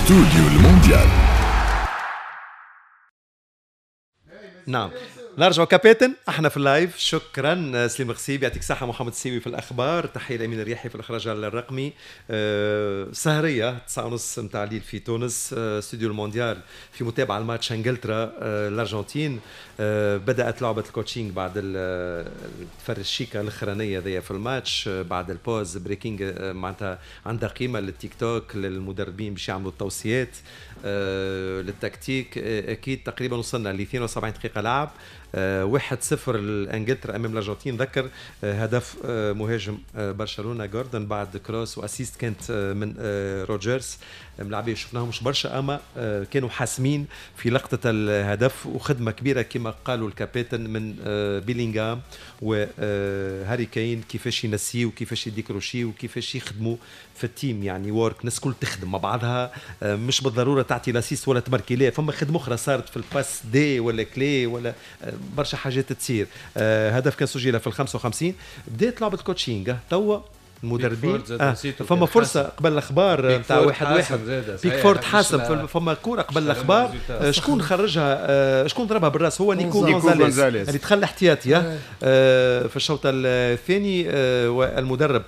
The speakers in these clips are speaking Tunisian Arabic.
استوديو المونديال. نعم نرجع كابتن، احنا في ال live. شكرا سليم غسيب، يعطيك الصحة محمد السيوي في الاخبار، تحية لامين الرياحي في الاخراج الرقمي. سهريه 9:30 نتاع الليل في تونس، استوديو المونديال في متابعه الماتش انجلترا الارجنتين. بدات لعبه ال coaching بعد التفرشيكه الاخرانية ذي في الماتش، بعد ال pause breaking، معناتها عندها قيمة للتيك توك للمدربين باش يعملوا التوصيات للتكتيك. اكيد تقريبا وصلنا ل 72 دقيقة لعب، 1-0 لانجلترا امام الارجنتين. ذكر هدف مهاجم برشلونة جوردن بعد cross و assist كانت من روجرز. ملاعبيه شفناهم مش برشا اما كانوا حاسمين في لقطة الهدف، وخدمه كبيرة كما قالوا الكابتن من بيلينغهام وهاري كين، كيفاش ينسيو وكيفاش يديكروشيو وكيفاش يخدموا في ال team، يعني work الناس كل تخدم مع بعضها، مش بالضرورة تعطي l'assist ولا تماركي، لا فما خدمة اخرى صارت في ال passe D ولا clé ولا برشا حاجات تصير. هدف كان سجل في ال 55. بدات لعبه coaching توا المدربين، فما فرصة قبل الاخبار نتاع 1-1 بيكفورد حاسم، فما كورة قبل الاخبار شكون خرجها، شكون ضربها بالراس؟ هو نيكو غونزاليس اللي دخل احتياطي في الشوط الثاني. والمدرب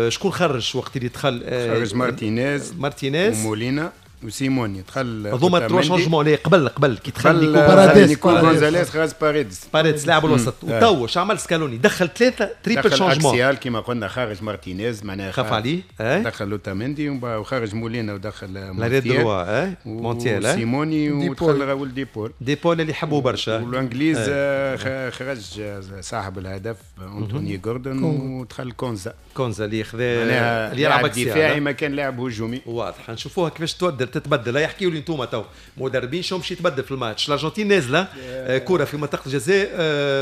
شكون خرج وقت اللي دخل؟ خرج مارتينيز ومولينا وسيموني دخل. هذوما trois changements ليه قبل كي دخل نيكو غونزاليس خرج باريدس لاعب الوسط. وتو اش عمل سكالوني؟ دخل ثلاثة triple changement axial كيما قلنا، خرج مارتينيز معناها خاف عليه، دخل لوتاميندي وخرج مولينا ودخل مونتيال، مونتيال سيموني ودخل راول ديبول اللي يحبوه برشا. والانجليز خرج صاحب الهدف انتوني جوردن ودخل كونزا اللي خذا اللي يلعب دفاعي ما كان لاعب هجومي. واضح نشوفوها كيفاش تتبدل. يحكيوا لي انتم تو مدربين شو باش يتبدل في الماتش. الارجنتين نازله كره في منطقة الجزاء،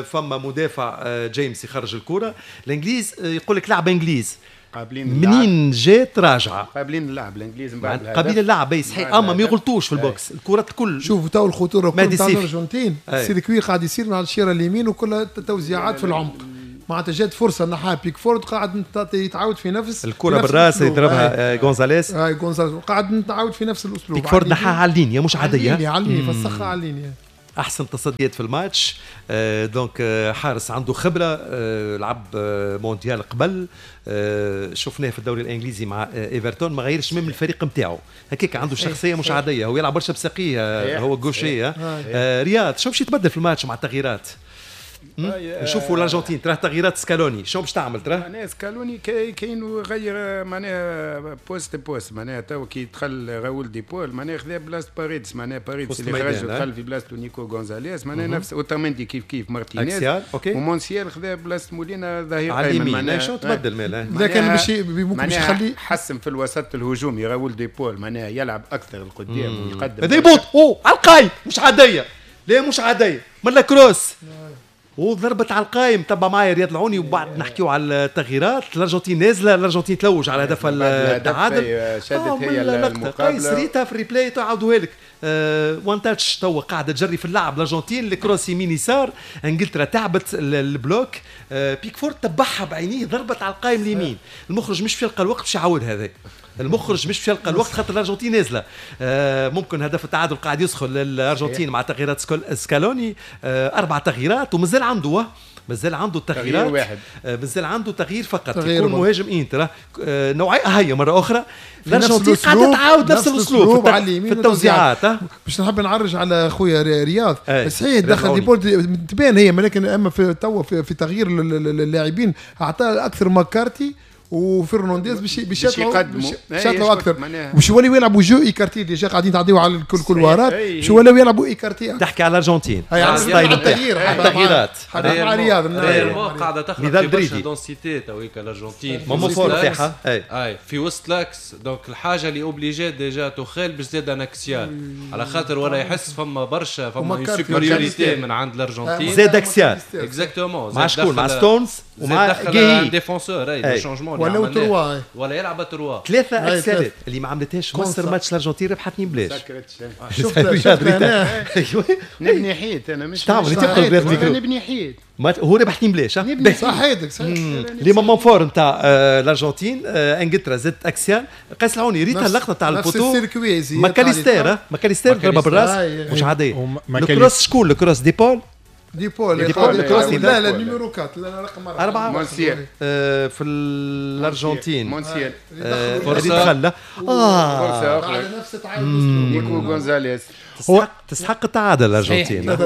فما مدافع جيمس يخرج الكره. الانجليز يقول لك لعب انجليز قابلين منين جات راجعه، قابلين اللعب الانجليز من بعد قابلين اللعب صحيح، اما ما يغلطوش في ال box الكرات الكل. شوفوا تو الخطورة كل تاع الارجنتين، ال circuit قاعد يصير على الشيره اليمين وكلها توزيعات في العمق، معناتها جات فرصة نحاها بيكفورد قاعد يتعاود في نفس الكره بالراس يضربها غونزاليس. غونزاليس قاعد نتعاود في نفس الاسلوب. بيكفورد نحاها على ال ligne مش عادية، على ال ligne فسخها على ال ligne. احسن تصديات في الماتش. donc حارس عنده خبره، لعب مونديال قبل، شفناه في الدوري الانجليزي مع ايفرتون، ما غيرش من الفريق نتاعو هكاك، عنده شخصية مش عادية، هو يلعب برشا بساقيه، هو gaucher. رياض شو باش يتبدل في الماتش مع التغييرات؟ نشوفوا الارجنتين ترى تغييرات سكالوني شو باش تعمل ترى؟ معناها سكالوني كاين غير معناها poste poste، معناها تو كي دخل راول ديبول معناها خذا بلاصة باريدس، معناها باريدس اللي خرج ودخل في بلاصته نيكو غونزاليس، معناها نفس اوتاميندي كيف كيف مارتينيز ومونسيال خذا بلاصة مولينا ظهير ايمن. معناها شو تبدل مالا؟ لكن باش ممكن باش يخلي حسن في الوسط الهجومي راول ديبول، معناها يلعب اكثر القدام ويقدم. هذا يبوط او على القايم مش عادية، لا مش عادية من cross وضربت على القايم. تبع معايا رياض العوني وبعد نحكيو على التغييرات. الارجنتين نازله، الارجنتين تلوج على هدف التعادل، شادت هي المقابلة قيس ريتها في ال replay تعاودوها لك. one touch توا قاعدة تجري في اللعب الارجنتين، ال cross يمين يسار، انجلترا تعبت ال bloc، بيكفورد تبعها بعينيه ضربت على القايم اليمين. المخرج مش في يلقى الوقت باش يعاود هذا، المخرج مش باش يلقى الوقت خاطر الارجنتين نازله. ممكن هدف التعادل قاعد يسخن للارجنتين مع تغييرات سكالوني، 4 تغييرات ومازال عنده، مازال عنده التغييرات، واحد مازال عنده تغيير فقط يكون مهاجم انتر نوعية. هي مرة اخرى الارجنتين قاعدة تعاود نفس الاسلوب في التوزيعات. باش نحب نعرج على خويا رياض، صحيح دخل ديبول تبان هي، ولكن اما في توا في تغيير اللاعبين اعطى اكثر ماكارتي وفرنانديز باش يطلعوا اكثر، باش يوليو يلعبوا jeu écarté. déjà قاعدين تعديو على الكل couloir ات، باش يوليو يلعبوا écarté. تحكي على الارجنتين التغييرات مع رياض قاعدة تخلق برشا densité تويك الارجنتين moment fort تاعها اي في وسط l'axe. donc الحاجة اللي obligé déjà توخيل باش زاد un axial على خاطر ولا يحس فما برشا فما supériorité من عند الارجنتين زاد axial exactement. مع شكون؟ مع ستونز ومع دخل défenseur اي changement ولا trois ولا يلعب trois ثلاثة axial ات اللي ما عملتهاش مصر ماتش الارجنتين ربحت 2 بلاش. شفت انا نبني حيط انا مش تعمل تدخل نبني حيط هو ربح 2 بلاش. صحيتك صحيح. les moments forts نتاع الارجنتين انجلترا زدت axial. قيس العوني ريتها اللقطة تاع ال poteau ماكاليستير ماكاليستير ضربه بالراس مش عادية. ال cross شكون ال cross؟ ديبول ديبول لا لا numéro 4 لا رقم 4 مونسيال في الارجنتين مونسيال فرصة دخل فرصة اخرى نيكو غونزاليس. تستحق التعادل الارجنتين،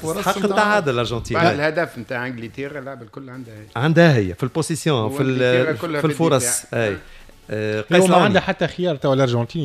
تستحق التعادل الارجنتين بعد الهدف نتاع انجلترا. اللعبة الكل عندها هي، عندها هي في ال possession في الفرص. اي قيس ما عندها حتى خيار تو الارجنتين،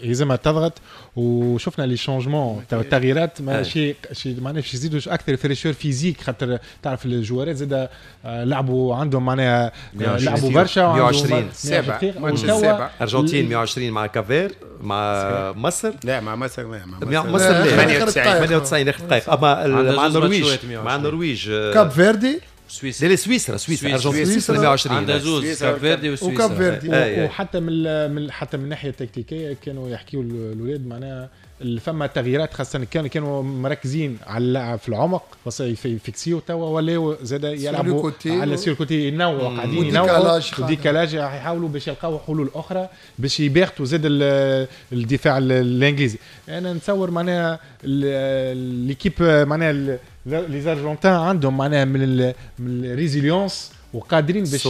يلزمها تضغط. وشفنا les changements تو التغييرات ماشي معناها باش يزيدوا اكثر fraîcheur physique، خاطر تعرف ال joueur ات زاد لعبوا عندهم معناها لعبوا برشا. 120 سبعة ماتش السابع ارجنتين 120 مع Cap-Vert مع مصر. لا مع مصر لا مع مصر لا 98 اخر دقائق. اما مع النرويج، مع النرويج كاب فيردي سويسرا. لا سويسرا سويسرا ارجنتين سويسرا 120 عندها زوز كاب فيردي وسويسرا وكاب فيردي. وحتى من حتى من الناحية التكتيكيه كانوا يحكيوا الاولاد معناها فما تغييرات، خاصة كانوا مركزين على اللعب في العمق يفكسيو توا ولاو زاد يلعبوا على sur côté، ينوعوا قاعدين ينوعوا décalage، يحاولوا باش يلقاو حلول اخرى باش يباغتوا زاد الدفاع الانجليزي. انا نتصور معناها l'équipe معناها les Argentins عندهم معناها من ال résilience وقادرين باش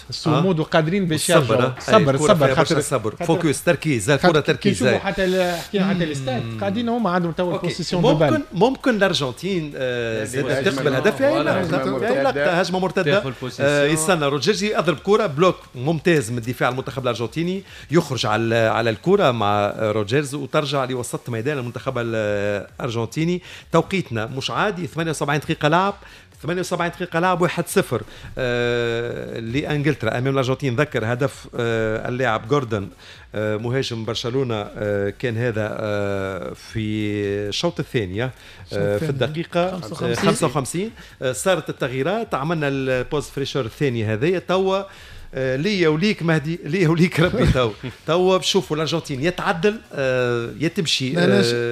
الصمود وقادرين باش يرجعوا. صبر صبر خاطر الصبر focus تركيز الكره تركيز. حتى حكينا حتى الاستاد قاعدين هما عندهم تو ال possession de balle. ممكن الارجنتين زاد تقبل هدف هجمة مرتدة. يستنى روجرز يضرب كره bloc ممتاز من دفاع المنتخب الارجنتيني، يخرج على الكره مع روجرز وترجع لوسط ميدان المنتخب الارجنتيني. توقيتنا مش عادي، 78 دقيقة لعب، 78 دقيقة لعب 1-0 لأنجلترا أمام الأرجنتين. ذكر هدف اللاعب جوردن مهاجم برشلونة، كان هذا في الشوط الثاني في الدقيقة 55. صارت التغييرات، عملنا ال pause fraîcheur الثاني هذايا. توا ليا وليك مهدي، ليا وليك ربي. تو بشوفوا الارجنتين يتعدل يا تمشي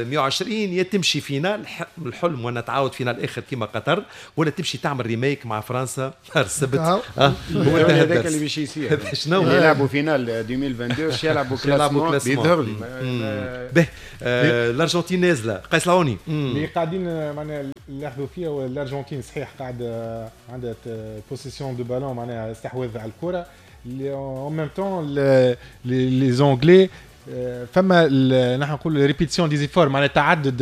120 يا تمشي finale الحلم وانا تعاود finale اخر كيما قطر، ولا تمشي تعمل remake مع فرنسا نهار السبت. هو هذاك اللي باش يصير. شنو يلعبوا finale 2022 باش يلعبوا classement يظهر لي به. الارجنتين نازله قيس العوني اللي قاعدين معناها نلاحظوا فيها الارجنتين صحيح قاعد عندها possession de ballon معناها استحواذ على الكره en même temps les Anglais فما نحن نقول répétition des efforts معناها تعدد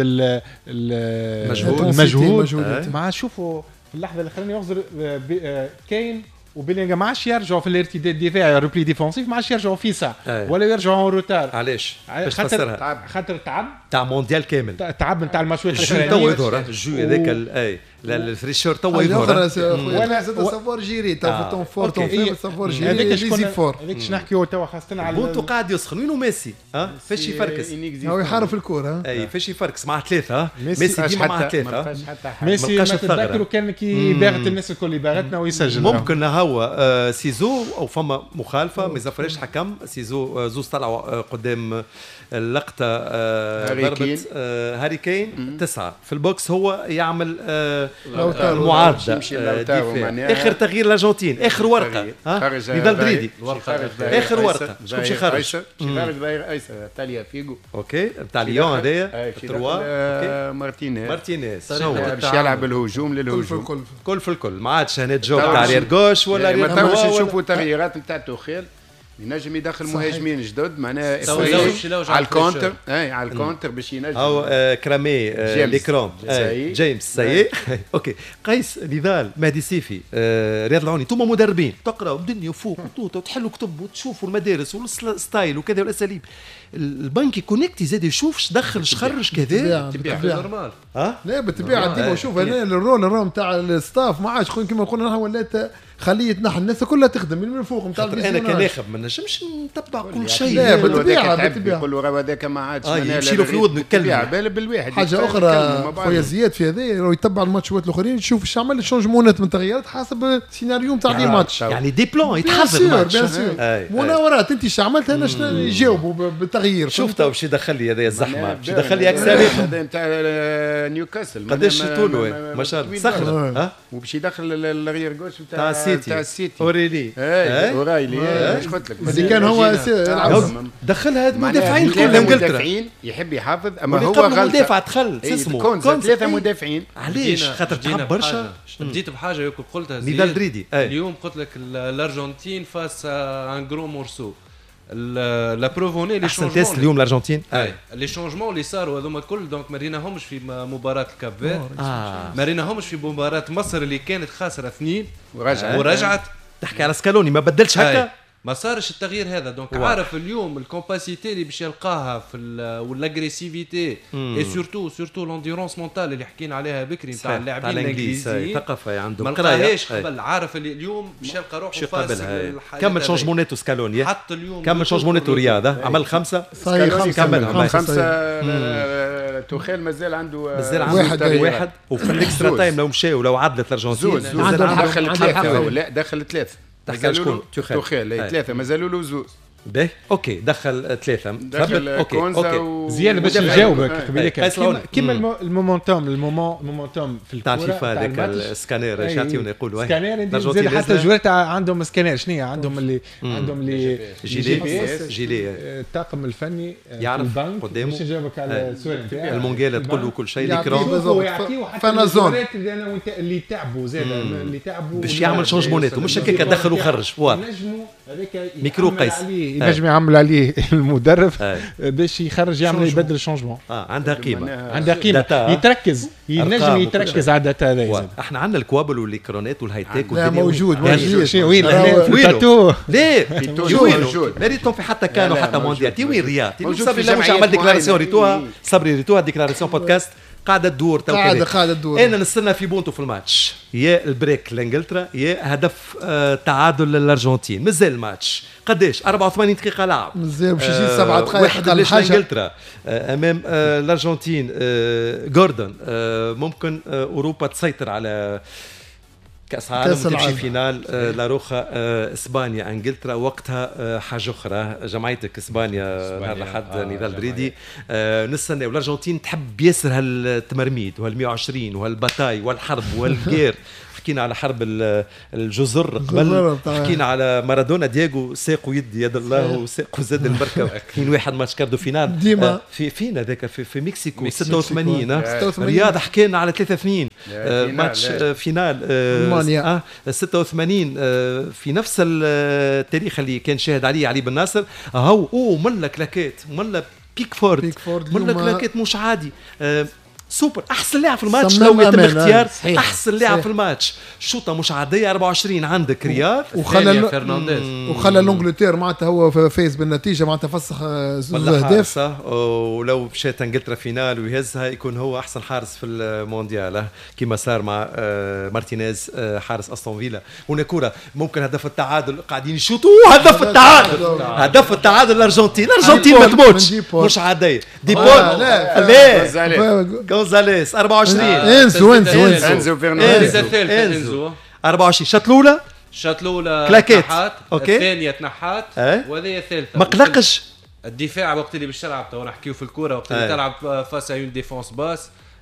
المجهود. مع شوفوا في اللحظة الاخرانية يغزر كاين وبيلينغ ما عادش يرجعوا في الارتداد الدفاعي repli défensif، ما عادش يرجعوا في ساعة ولا يرجعوا en retard. علاش؟ باش تفسرها خاطر تعب تاع مونديال كامل، تعب نتاع الماتشات الاخرانية. تو يظهر ال jeu هذاك اي ال fraîcheur تو يظهر. وانا زاد savoir gérer تو temps fort temps faible savoir gérer les efforts. هذاك باش نحكيو توا خاصة على بونتو قاعد يسخن. وينو ميسي؟ فاش يفركس؟ هو يحارب الكره. اي فاش يفركس مع ثلاثة. ميسي ديما مع ثلاثة. ميسي ما تتذكروا كان كي باغت الناس الكل باغتنا ويسجل. ممكن هو سيزو او فما مخالفة ما يزفرش حكم سيزو، زوز طلعوا قدام اللقطة ضربه هاري كين 9 في ال box، هو يعمل المعارضة. اخر تغيير الارجنتين، اخر ورقة نضال دريدي، اخر ورقة شكون باش يخرج؟ باش يخرج ظهير ايسر تاليا فيغو OK بتاع ليون هذايا trois مارتينيز باش يلعب الهجوم للهجوم كل في الكل. ما عادش هنا جو تاع arrière gauche ولا arrière ما توش نشوفوا تغييرات نتاع توخيل، ينجم يدخل مهاجمين جدد معناها على ال contre، اي على ال contre باش ينجم او كرامي ليكروم جيمس ساي. OK قيس نضال مهدي سيفي رياض العوني، انتم مدربين تقراوا الدنيا فوق وتحلوا كتب وتشوفوا المدارس وال style وكذا والاساليب. البنك connecté زاد يشوف اش دخل اش خرج كذا normal. لا بالطبيعة ديما شوف انا ال rôle نتاع ال staff ما عادش كيما قلنا نحن ولات خليه يتنحى، الناس كلها تخدم من فوق نتاع انا كناخب ما نجمش نتبع كل شيء. لا بالطبيعة بالطبيعة يقولوا راه هذاك ما عادش يمشي له في ودنه يتكلم بالواحد. حاجة اخرى خويا زياد في هذا يتبع الماتشات الاخرين، يشوف ايش عمل ال changement ات من تغييرات حسب السيناريو نتاع les matchs، يعني des plans يتحضر الماتش مناورات. انت ايش عملت انا شنو يجاوبوا بالتغيير. شوف تو باش يدخل لي هذا الزحمة، باش يدخل لي اكساري هذا نتاع نيوكاسل قداش طوله ما شاء الله صخرة، وباش يدخل ال arrière gauche نتاع السيتي اوريلي اورايلي ايش قلت لك اللي كان هو دخلها مدافعين كلهم انجلترا، مدافعين يحب يحافظ اما هو غلط مدافع دخل اسمه ثلاثة مدافعين. علاش؟ خاطر تعب برشا. بديت بحاجة ياكل قلتها نضال دريدي اليوم، قلت لك الارجنتين face un gros morceau la preuve en est les changements اليوم الارجنتين les changements اللي صاروا هذوما الكل donc ما ريناهمش في مباراة الكاب فير، ما ريناهمش في مباراة مصر اللي كانت خاسرة 2 ورجعت. تحكي على سكالوني ما بدلش هكا، ما صارش التغيير هذا. donc عارف اليوم ال capacité اللي باش يلقاها في وال agressivité et surtout l'endurance mentale اللي حكينا عليها بكري نتاع اللاعبين الانجليزيين، ثقافة عندهم ما لقاهاش قبل. عارف اللي اليوم باش يلقى روحه face. كمل changement اتو سكالوني، حط اليوم كمل changement اتو رياض، عمل 5 كمل 5. توخيل مازال عنده واحد وفي ال extra time لو مشى ولو عدلت الارجنتين دخل 3 لا دخل 3 تحكي على شكون؟ توخيل 3 مازالوا له 2. باهي OK دخل 3 دخل OK OK زياد باش نجاوبك قبيلك كيما ال momentum ال momentum في الكره تاع فيفا هذاك السكانير ايش يعطيونا يقولوا سكانير زاد حتى ال joueur عندهم سكانير شنو عندهم اللي عندهم اللي gilet الطاقم الفني يعرف قدامه باش نجاوبك على السؤال نتاعك المونجيلا تقول له كل شيء l'écran فانازون اللي تعبوا زاد اللي تعبوا باش يعمل changement ات مش هكاك دخل وخرج ميكرو قيس ينجم يعمل عليه المدرب باش يخرج يعمل يبدل changement. عندها قيمة، عندها قيمة، يتركز ينجم يتركز على ال data هذا. احنا عندنا الكوابل والاكرونات وال high-tech والدنيا موجود موجود وين في ليه موجود ما ريتهم في حتى كانوا حتى مونديال تي وين رياض صبري لا مش عمل déclaration ريتوها صبري ريتوها déclaration podcast قاعدة تدور تو قاعدة تدور. انا نستنى في بونتو في الماتش يا ال break لانجلترا يا هدف تعادل للارجنتين. مازال الماتش قداش 84 دقيقة لعب مازال باش يجي 7 دقائق واحد لانجلترا امام الارجنتين. جوردن ممكن اوروبا تسيطر على كاس عالم تمشي finale لاروخا اسبانيا انجلترا وقتها حاجة اخرى. جمعيتك اسبانيا نهار الاحد نضال دريدي نستنى. والارجنتين تحب ياسر هالتمرميد وهال 120 وهال bataille والحرب وال guerre. حكينا على حرب الجزر قبل، حكينا على مارادونا دياغو ساقو يد يد الله وساقو زاد البركة. 2-1 match quart de finale ديما في فين هذاك في مكسيكو 86 رياض. حكينا على 3-2 match finale المانيا 86 في نفس التاريخ اللي كان شاهد عليه علي بن ناصر. هاو او ملا كلاكات ملا بيكفورد ملا كلاكات مش عادي. سوبر احسن لاعب في الماتش لو يتم اختيار احسن لاعب في الماتش. شوطه مش عادية 24 عندك رياض وخلى فرنانديز وخلى l'Angleterre معناتها هو فايز بالنتيجة معناتها فسخ زوج اهداف. ولو مشات انجلترا finale ويهزها يكون هو احسن حارس في المونديال كما صار مع مارتينيز حارس استون فيلا. هنا كره ممكن هدف التعادل قاعدين يشوطوا هدف التعادل هدف التعادل الارجنتين. الارجنتين ما تموتش مش عادية. ديبول لا غونزاليس 24 انزو انزو انزو فرنانديز انزو 24 شات الاولى شات الاولى كلاكيت الثانية تنحات وهذه الثالثة. ما قلقش الدفاع وقت اللي باش تلعب تو نحكيو في الكورة وقت اللي تلعب face à une défense basse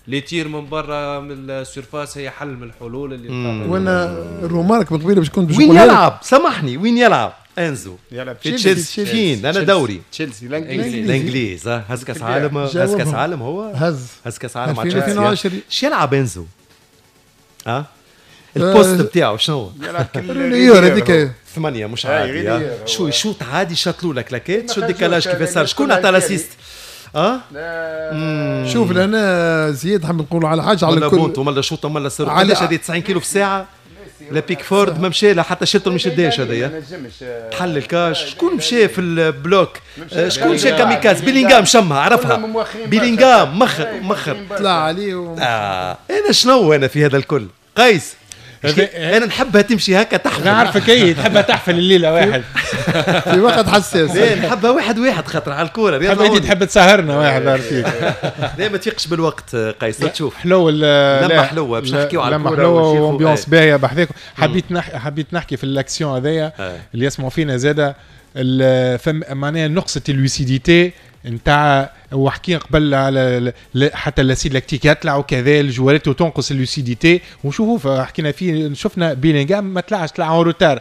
les tirs من برا من ال surface هي حل من الحلول اللي وانا ال remarque من قبيلة باش كنت وين يلعب سامحني وين يلعب انزو يلعب في تشيلسي فين انا دوري تشيلسي الانجليز هز كاس عالم هز كاس عالم هو هز كاس عالم مع تشيلسي. اش يلعب انزو ال poste بتاعه شنو يلعب هذيك 8 مش عادي شو يشوط عادي شاطلو لك كلاكيت شو ال décalage كيف صار شكون عطى l'assist شوف لهنا زياد حاب نقولوا على حاجة على كل بونت ولا شوطه ولا سر قداش هذه 90 كيلو في الساعة لا بيكفورد ما مشى لا حتى شيلتون مش شداش هذايا تحل الكاش. شكون مشى في ال bloc شكون مشى كاميكاز بيلينغهام شمها عرفها بيلينغهام مخر طلع عليه انا شنو انا في هذا الكل قيس انا نحبها تمشي هكا تحفل. نعرفك اي تحبها تحفل الليلة واحد في وقت حساس. لا نحبها 1-1 خاطر على الكورة. تحب انت تحب تسهرنا واحد عارفيك. لا ما تفيقش بالوقت قيس تشوف حلو لما حلوة باش نحكيو على الكورة لما حلوة و ambiance باهيه بحذاكم. حبيت نحكي في الاكسيون هذايا اللي يسمعوا فينا زاده معناها نقصة ال lucidité نتاع وحكينا قبل على حتى l'acide lactique يطلع وكذا الجوارات وتنقص ال lucidité ونشوفوا حكينا فيه شفنا بيلينغهام ما طلعش طلع en retard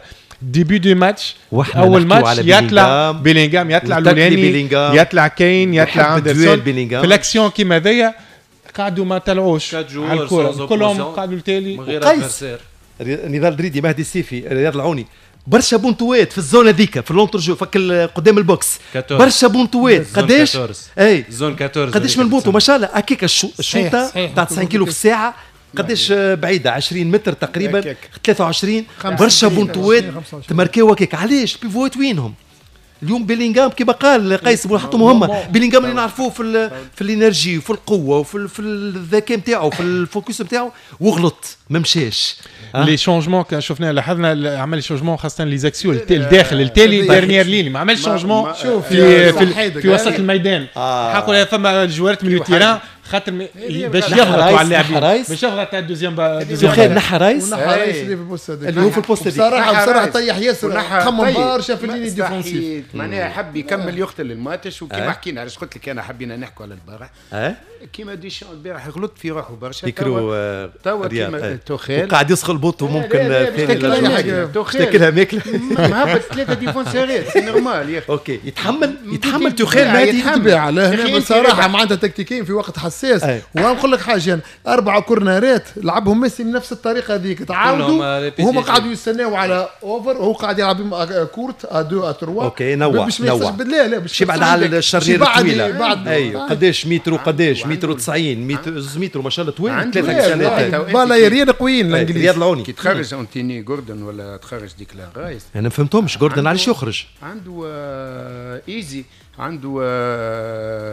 début du match اول ماتش يطلع بيلينغهام يطلع لولاني يطلع كين يطلع اندرسون في الاكسيون كيما هذايا قعدوا ما طلعوش على الكره كلهم قعدوا التالي. قيس نضال دريدي مهدي السيفي رياض العوني برشا بونتوات في ال zone هذيك في l'entrejeu فك قدام ال box برشا بونتوات قداش اي zone 14 قداش من بونتو ما شاء الله هكاك الشوطه تاع 90 كيلو في الساعة قداش بعيدة 20 متر تقريبا 23 برشا بونتوات تماركيو هكاك. علاش ال pivot ات وينهم اليوم؟ بيلينغهام كما قال قيس حطوا مهمة بيلينغهام اللي نعرفوه في ال énergie وفي القوة وفي الذكاء نتاعو في ال focus نتاعو وغلط ما مشاش. les changements كان شفناه لاحظنا عمل changement خاصة les axiaux الداخل التالي dernière ligne ما عملش changement في في وسط الميدان. حقوا فما جوارات milieu terrain خاطر باش يضغطوا على اللاعبين باش يضغط على ال deuxième تخيل نحى رايس اللي في ال poste هذاك اللي هو في ال poste هذيك بصراحة طيح ياسر خمم برشا في ال ligne défensive معناها حب يكمل يقتل الماتش. وكيما حكينا علاش قلت لك انا حبينا نحكوا على البارح كيما ديشان البارح غلط في روحه برشا توا كيما توخيل وقاعد يسخل بوطو ممكن ثاني تاكلها ماكله مهبط 3 défenseur ات c'est normal يا اخي. OK يتحمل توخيل مهدي بالطبيعة هنا بصراحة معناتها تكتيكيا في وقت حساس. ونقول لك حاجة 4 corner ات لعبهم ميسي بنفس الطريقة هذيك تعاودوا وهما قعدوا يستناو على over وهو قاعد يلعب court à 2 à 3 OK نوع نوع لا باش يبعد على ال charnière الطويلة. ايوه قداش متر قداش متر 90 متر متر ما شاء الله طويل 3 سنوات balle aérienne قويين الانجليز. رياض العوني كي تخرج انتوني جوردن ولا تخرج ديكلان رايس انا ما فهمتهمش جوردن علاش يخرج عنده ايزي عنده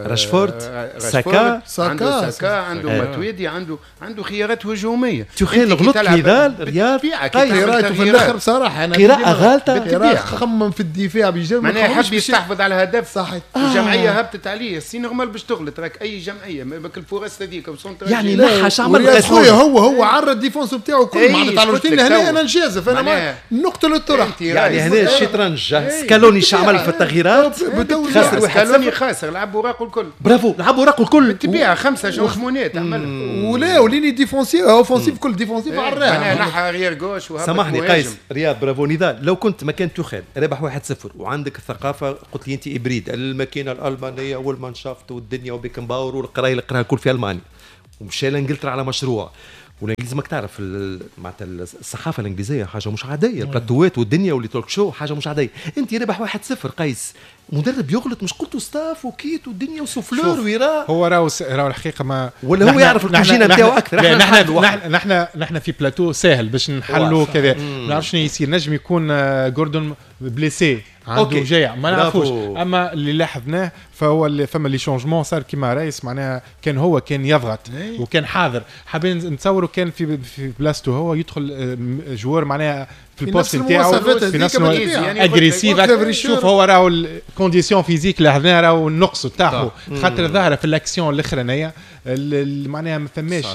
راشفورد ساكا عنده ساكا عنده ماتويدي عنده خيارات هجومية. تخيل غلط نضال رياض قراءته في الاخر بصراحة انا قراءة غالطه خمم في الدفاع بيجي معناها حب يستحفظ على هدف صحيح الجمعية هبطت عليه c'est normal باش تغلط راك اي جمعية بك الفرص هذيك يعني نحى عمل خويا هو عرض ال défense نتاعو كل معناتها على روتين هنا انا نجازف انا نقتل الطرح يعني هنا الشطرنج سكالوني عمل في التغييرات خسر سكالوني خاسر لعب وراقه الكل برافو لعب وراقه الكل تبيع 5 changement ات عملها ولا و ligne défensive offensive كل défensive على الراحة نحى arrière gauche وهبط. سامحني قيس رياض برافو نضال لو كنت مكان توخيل رابح 1-0 وعندك الثقافة قلت لي انت hybride الماكينة الالمانية والمانشافت والدنيا وبيكنباور والقرايه اللي قراها الكل في المانيا ومشى لانجلترا على مشروع والانجليز ماك تعرف معناتها الصحافة الانجليزية حاجة مش عادية البلاتوات والدنيا واللي talk show حاجة مش عادية. انت ربح 1-0 قيس مدرب يغلط مش قلتوا staff و kit والدنيا و souffleur ويرا هو راهو الحقيقة ما ولا هو يعرف الكوجينه نتاعو اكثر. نحن في بلاتو ساهل باش نحلوا كذا ما نعرفش شنو يصير نجم يكون جوردون blessé عنده جايع ما نعرفوش. اما اللي لاحظناه فهو اللي فما les changements صار كيما رايس معناها كان هو كان يضغط وكان حاضر حابين نتصوروا كان في بلاصته هو يدخل joueur معناها في ال poste نتاعو في نفس agressif. شوف هو راهو ال condition physique لاحظناها راهو النقص تاعو خاطر ظاهره في الاكسيون الاخرانية معناها ما فماش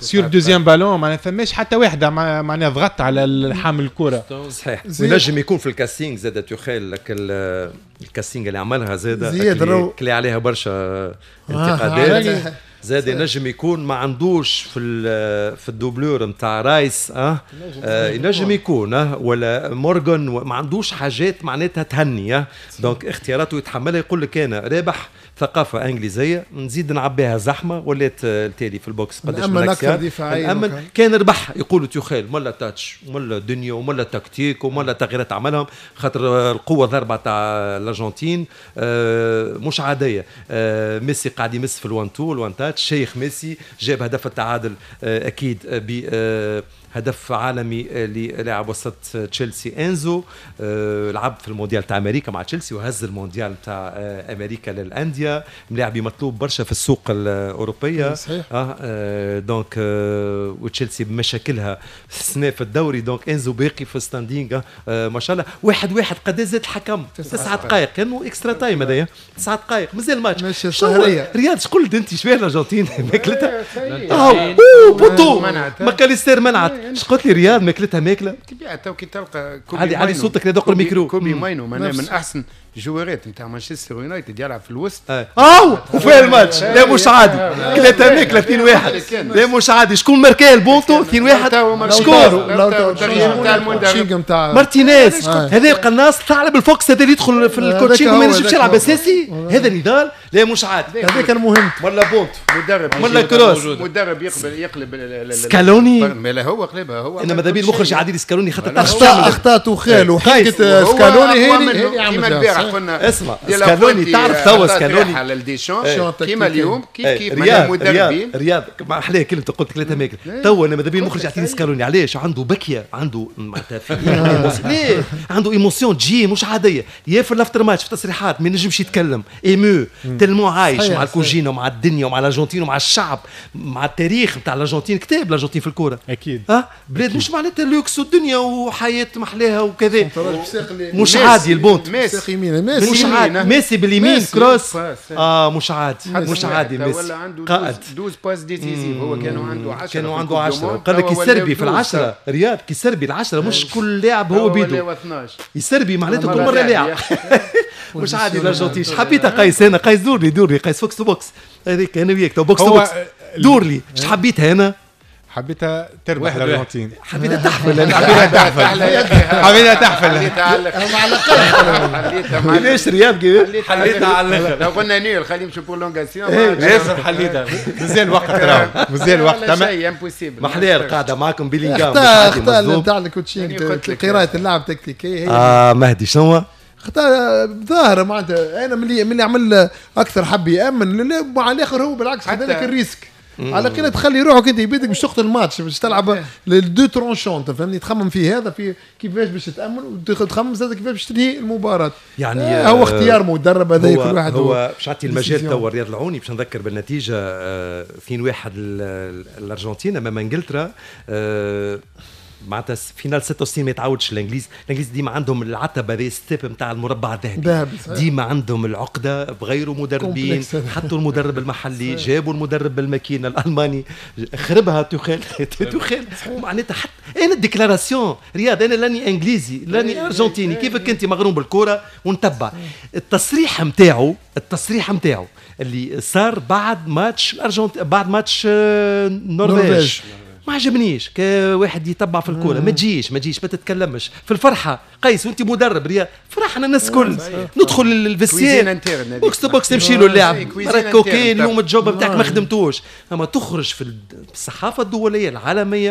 sur deuxième ballon معناها فماش حتى واحدة معناها ضغط على حامل الكره. صحيح ونجم يكون في ال casting زاد توخيل لك ال casting اللي عملها زاد كلي عليها برشا انتقادات زاد ينجم يكون ما عندوش في ال doublure نتاع رايس ينجم يكون ولا مورغان ما عندوش حاجات معناتها تهني donc اختياراته يتحملها. يقول لك انا رابح ثقافة انجليزية نزيد نعبيها زحمة ولات التالي في ال box قداش من اكسيال كان ربح يقولوا توخيل ملا touch ملا دنيا وملا تكتيك وملا تغييرات عملهم خاطر القوة ضربه تاع الارجنتين مش عادية. ميسي قاعد يمس في ال one two ال one touch شيخ ميسي جاب هدف التعادل اكيد ب هدف عالمي للاعب وسط تشيلسي انزو. لعب في المونديال تاع امريكا مع تشيلسي وهز المونديال تاع امريكا للاندية. ملاعبي مطلوب برشا في السوق الاوروبية. صحيح. donc وتشيلسي بمشاكلها السنة في الدوري، donc انزو باقي في standing ما شاء الله. 1-1 قد زاد الحكم 9 دقائق، كانوا extra time هذايا 9 دقائق مازال الماتش. رياض شقول قلت انت شبيه الارجنتين ماكلتها؟ poteau ماكاليستير منعت. اش قلت لي رياض ماكلتها ماكله؟ طبيعة تو كي تلقى كوبي علي صوتك لا الميكرو. كوبي ماينو معناها من احسن جوارات نتاع مانشستر يونايتد يلعب في الوسط. وفي الماتش لا مش عادي، كلاتها ماكله 2-1 لا مش عادي. شكون ماركاه البونتو 2-1؟ شكون؟ مارتينيز هذا القناص ثعلب الفوكس، هذا اللي يدخل في ال coaching وما ينجمش يلعب اساسي. هذا نضال لا مش عادي، هذا كان مهم. ولا بونتو مدرب ولا cross، مدرب يقلب سكالوني. لا هو قلبها هو. انا ماذا بيا المخرج عادل سكالوني خاطر اخطاء توخيل وحكة سكالوني هي كيما البارح قلنا. اسمع سكالوني تعرف توا سكالوني على ديشان كيما اليوم كيف كيف مدربين. رياض ما احلاه كلمته قلت ثلاثة ماكله. توا انا ماذا بيا المخرج يعطيني سكالوني. علاش؟ عنده بكيه، عنده معناتها ليه عنده émotion تجي مش عادية. يا في ال after match في تصريحات ما ينجمش يتكلم ému tellement عايش مع الكوجينه ومع الدنيا ومع الارجنتين ومع الشعب مع التاريخ نتاع الارجنتين. كتاب الارجنتين في الكورة اكيد. بلاد مش معناتها لوكس والدنيا وحياه محلاها وكذا، مش عادي البونت. مش عادي ميسي باليمين cross مش عادي، مش عادي ميسي قائد. 12 passes décisives هو كانوا عنده 10، كانوا عنده 10. قال لك يسربي في العشرة رياض، كيسربي العشرة مش كل لاعب هو بيدو يسربي معناته كل مرة لاعب. مش عادي الارجنتين. حبيتها قيس انا، قيس دور لي دور لي قيس box to box هذيك انا وياك box to box دور لي. اش حبيتها انا؟ حبيتها تربح الارجنتين، حبيتها تحفل، حبيتها تحفل، حبيتها تحفل. كيفاش رياض كيفاش حليتها على الاخر؟ لو قلنا nul خليه يمشي prolongation ياسر حليتها. مازال وقت راهو، مازال وقت. شيء impossible. محلاه القاعدة معاكم بيلينغهام. اخطاء نتاع ال coaching، قراءة اللاعب تكتيكية. مهدي شنو اخطاء ظاهره معناتها. انا من اللي عمل اكثر حب يامن مع الاخر هو بالعكس خذ لك ال risque. على الاقل تخلي روحك انت بيدك باش تقتل الماتش، باش تلعب les deux tranchants فهمني. تخمم في هذا في كيفاش باش تامن وتخمم زاد كيفاش باش تنهي المباراة. يعني هو اختيار مدرب هذا كل واحد. هو باش نعطي المجال توا رياض العوني باش نذكر بالنتيجة 2-1 الارجنتين امام انجلترا. معناتها finale 66 ما يتعودش الانجليز. الانجليز ديما عندهم العتبة هذه step نتاع المربع الذهبي، ديما عندهم العقدة بغيروا مدربين، حطوا المدرب المحلي، جابوا المدرب بالماكينه الالماني خربها توخيل. توخيل معناتها حتى انا ال déclaration رياض، انا لاني انجليزي لاني ارجنتيني، كيفك انت مغروم بالكورة ونتبع التصريح نتاعو. التصريح نتاعو اللي صار بعد ماتش الارجنتين، بعد ماتش النرويج، ما عجبنيش. كواحد يتبع في الكورة ما تجيش ما تجيش ما تتكلمش في الفرحة. قيس وانت مدرب رياض فرحنا الناس الكل، ندخل ال vestiaire box to box نمشي له اللاعب راك OK اليوم ال job نتاعك ما خدمتوش، اما تخرج في الصحافة الدولية العالمية.